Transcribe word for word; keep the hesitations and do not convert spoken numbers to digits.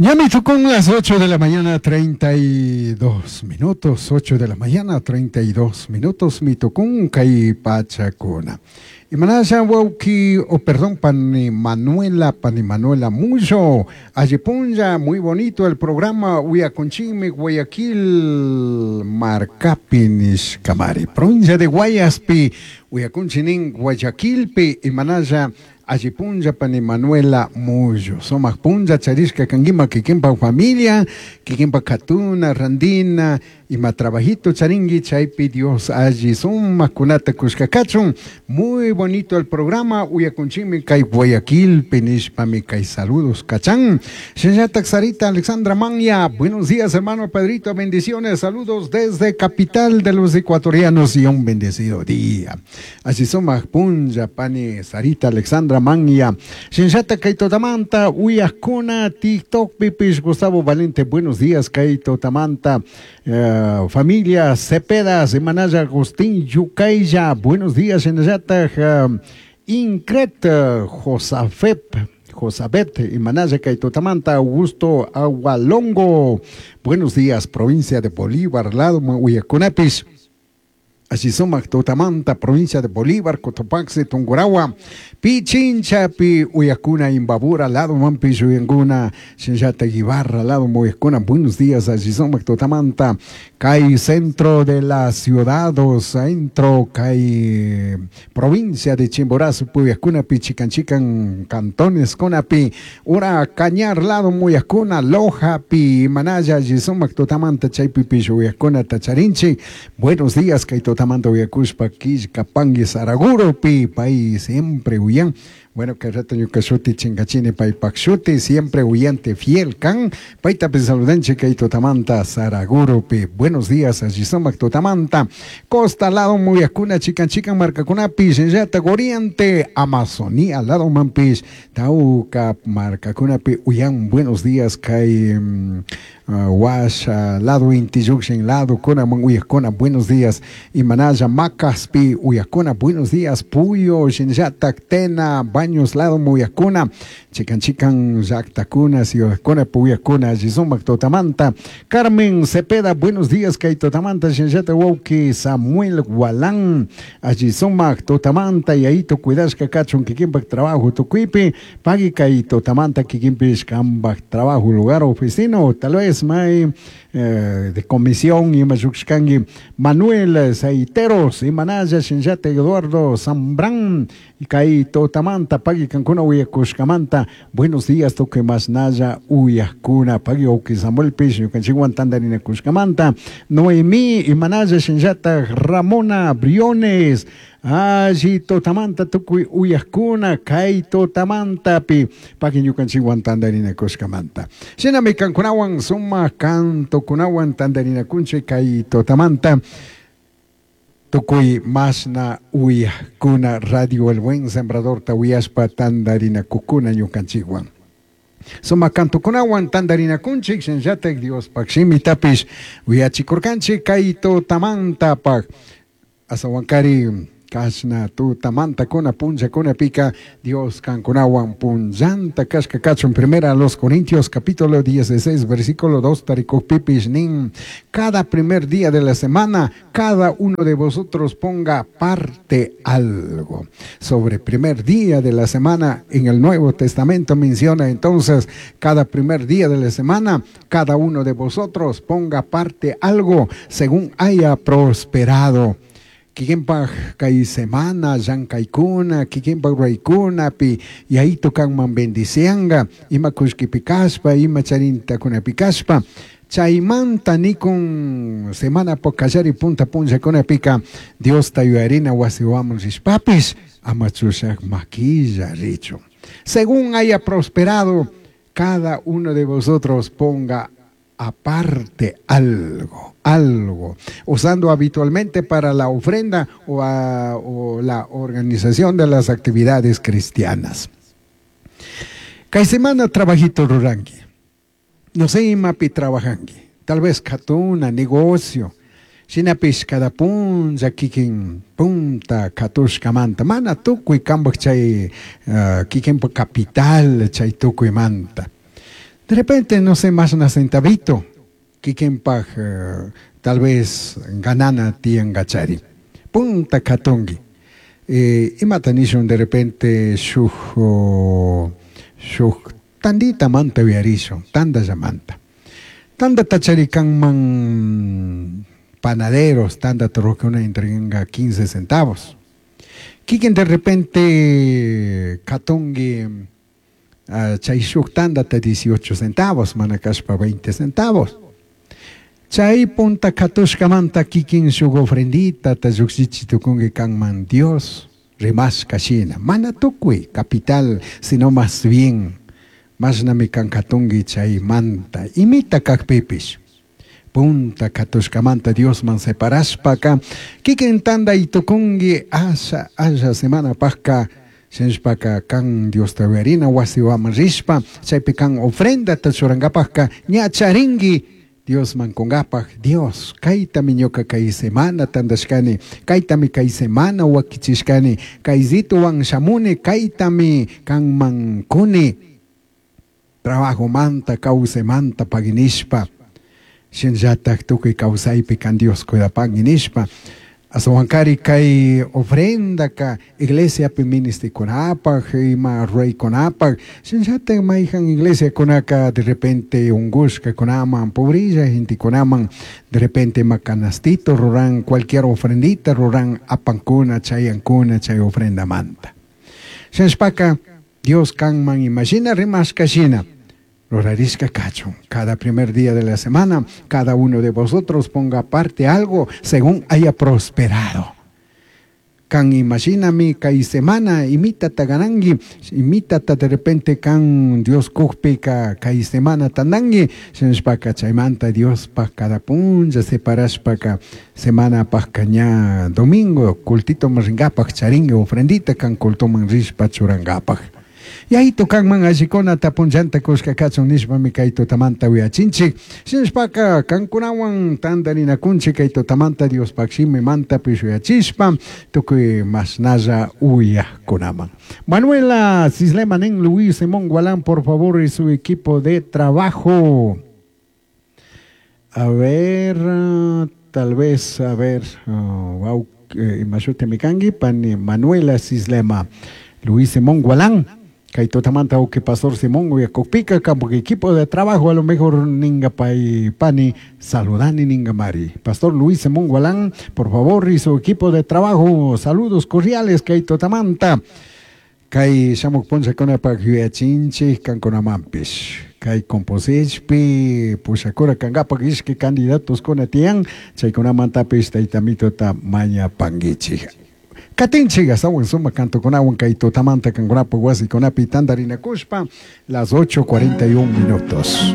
Ya me tocó las ocho de la mañana, treinta y dos minutos. ocho de la mañana, treinta y dos minutos. Mi tocó kay pachakuna. Imanasha wauki, o perdón, pani Manuela, pani Manuela Mucho. Alli punlla, muy bonito el programa. Uyakunchikmi Guayaquil markapi nishkamari. Provincia de Guayaspi, uyakunchinin Guayaquilpi, imanasha alli punlla pani Manuela Muyo. Sumak punlla charishka kankima kikinpa familia, kikinpa katuna, randina, ima trabajito charingi, chaypi Dios alli sumak kunata kushka kachun. Muy bonito el programa, uyakunchimi kay Guayaquil, nishpami kay saludos kachan. Shinllatak Sarita Alexandra Manya, buenos días, hermano Pedrito, bendiciones, saludos desde capital de los ecuatorianos y un bendecido día. Alli sumak punlla, pani Sarita Alexandra Manya. Shinllatak kay tutamanta, uyakuna, TikTok, pipish, Gustavo Valente, buenos días, kay tutamanta, eh, familia Cepeda, Semanaya Agustín Yucaya, buenos días, Shinllatak, uh, Incret Josafep, Josabet, Imanaya kay tutamanta, Augusto Agualongo, buenos días, provincia de Bolívar, lado uyakunapis. Alli sumak tutamanta, provincia de Bolívar, Cotopaxi, Tungurahua, Pichinchapi, uyakuna, Imbabura, lado manpish uyankuna, Shinllata Ibarra, lado uyakuna, buenos días, alli sumak tutamanta, kay centro de la ciudad, o centro, kay provincia de Chimborazo, uyakuna, chikan chikan, cantones, kunapi, ura Cañar, lado uyakuna, Loja, pi, Manaya, alli sumak tutamanta, chaypipish uyakuna, tacharinchi, buenos días, kay tutamanta uyakushpa, killkapangi, Saraguro, pi, pay siempre uyan. Bueno, kay rato ñuka shuti chinkachini paypak shuti, siempre uyante fiel kan. Payta saludanchik kay tutamanta Saraguropi. Buenos días, alli sumak tutamanta. Costa lado uyakuna chikan chikan markakunapi, Shinllata Oriente, Amazonía lado manpish, Tauca markakunapi uyan. Buenos días, kay um, uh, Washa lado Inti llukshin lado kunaman uyakuna. Buenos días. Imanaya Macaspi uyakuna. Buenos días. Puyo, Shinllata Tena, Baños lado uyakuna. Chikan chikan llaktakuna, ciudadkuna, uyakuna, alli sumak tutamanta. Carmen Cepeda, buenos días, kay tutamanta, Shinllata wauki Samuel Gualán, alli sumak tutamanta, yayito cuidashka kachun kikinpak trabajo tukuypi, pagui kay tutamanta kikinpish kambak trabajo, lugar, oficina, o tal vez may eh, de comisión, ima llukshkangi Manuel Saiteros, Imanaya Shinllata Eduardo Zambrán, kay tutamanta, pagui kankuna uyakushkamanta, buenos días, tukuy mashnalla uyakuna, pagui wauki Samuel pish, ñukanchikwan tandarinakushkamanta, Noemí, Imanaya Shinllata Ramona Briones, alli tutamanta tukuy uyakuna, kay tutamantapi, pagui ñukanchikwan tandarinakushkamanta. Shinami kankunawan sumak cantokunawan tandarinakunchik kay tutamanta. Tukuy mashna uyakuna Radio El Buen Sembrador ta uyashpa tandarinakukuna ñukanchikwan. Sumak cantokunawan tandarinakunchik shinllatak Diospak shimitapish uyachikurkanchik kay tutamantapak. Asawankari kashna tutamanta kuna punllakunapika Dios kankunawan punllanta kashka kachun. Primera a los Corintios capítulo dieciséis versículo dos tarikukpipish nin: "Cada primer día de la semana cada uno de vosotros ponga parte algo". Sobre primer día de la semana en el Nuevo Testamento menciona entonces: cada primer día de la semana cada uno de vosotros ponga parte algo según haya prosperado. Kikinpak kay semana llankaykuna, kikinpak ruraykunapi yayito kanman bendicianga ima kullkipi kashpa, ima charintakunapi kashpa. Chaymanta nikun semana kallari punta punllakunapika Diosta yuyarina wasiwaman rishpapish ama chushak makilla richun. Según haya prosperado, cada uno de vosotros ponga aparte algo, algo, usando habitualmente para la ofrenda o, a, o la organización de las actividades cristianas. Kay semana trabajito ruranki. No sé imapi trabajanki. Tal vez katuna, negocio. Shinapish cada punlla kikin punta katushkamanta. Mana tukuy kambak chay uh, kikinpa capital chay tukuymanta. De repente, no sé, más una centavito, kikinpaj uh, tal vez ganana tiangachari. Punta katungi. Eh, imata nishun de repente shuj, shuj tandita manta uyarishun, tanda llamanta. Tanda tachari kanman panaderos, tanda torrocuna entrega quince centavos. Kikin de repente katungi uh, chay shuk tanda ta dieciocho centavos, manakashpa veinte centavos. Chay punta katushkamanta kikin shuk ofrendita ta llukshichi tukungi kanman Dios rimashka shina. Mana tukuy capital, sino más bien mashnami kan katungi chay manta imita kakpipish. Punta katushkamanta Diosman separashpaka kikin tanda itukungi asha asha semana pajka shinshpaka kan Dios tawiyarina wasiwaman rishpa chaypi kan ofrenda tachurankapajka ña charingi Diosman kungapaj. Dios kaytami ñuka kay semana tandashkani, kaytami kay semana wakichishkani, kaysituwan shamuni, kaytami kanman kuni trabajo manta kawsaymanta paginishpa shinllatak tukuy kawsaypi kan Dios cuidapangi nishpa. Asawankari kay ofrendaka iglesiapi ministikunapaj ima ruraykunapaj shinllatak mayjan iglesiakunaka de repente ungushkakunaman pobrilla gentekunaman de repente ima canastito ruran cualquier ofrendita ruran apankuna chayankuna chay ofrendamanta. Shinshpaka Dios kanman imashina rimashka shina rurarishka kachun. Cada primer día de la semana, cada uno de vosotros ponga aparte algo según haya prosperado. Kan imaginami kay semana imitata ganangi, imitata de repente kan Dios kukpika kay semana tandangi, shinshpaka chaymanta Dios pa cada punlla separashpaka semana pajka ña domingo cultito maringapaj charingi ofrendita kan cultoman rishpa churangapaj. Yayito kanman allikuna tapunllanta kushka kachun nishpami kay tutamanta uyachinchik. Shinshpaka kankunawan tantarinakunchik kay tutamanta Diospaq shimimanta uyachishpa tukuy mashnalla uyajkunaman. Manuela Cislema Nen Luis Simón Gualán, por favor, y su equipo de trabajo. A ver, tal vez, a ver, oh, wow, eh, imashute mikangi, pani Manuela Cislema, Luis Simón Gualán. Kay tutamanta uki pastor Simón uyakukpika kampo equipo de trabajo a lo mejor ninga pai pani saludani ninga mari. Pastor Luis Simón Gualán, por favor, y su equipo de trabajo, saludos cordiales kay tutamanta. Kay shamuk puncha kunapak yuyachinchik kankunamampish. Kay composichpi pushakura kangapak ishki candidatos kuna tiyan chaykunamantapis taytamitota mañapankichik. Katinchik astawan suma kantukunawan kay tutamanta kankunapaq wasikunapi tantarinakushpa las ocho cuarenta y un minutos.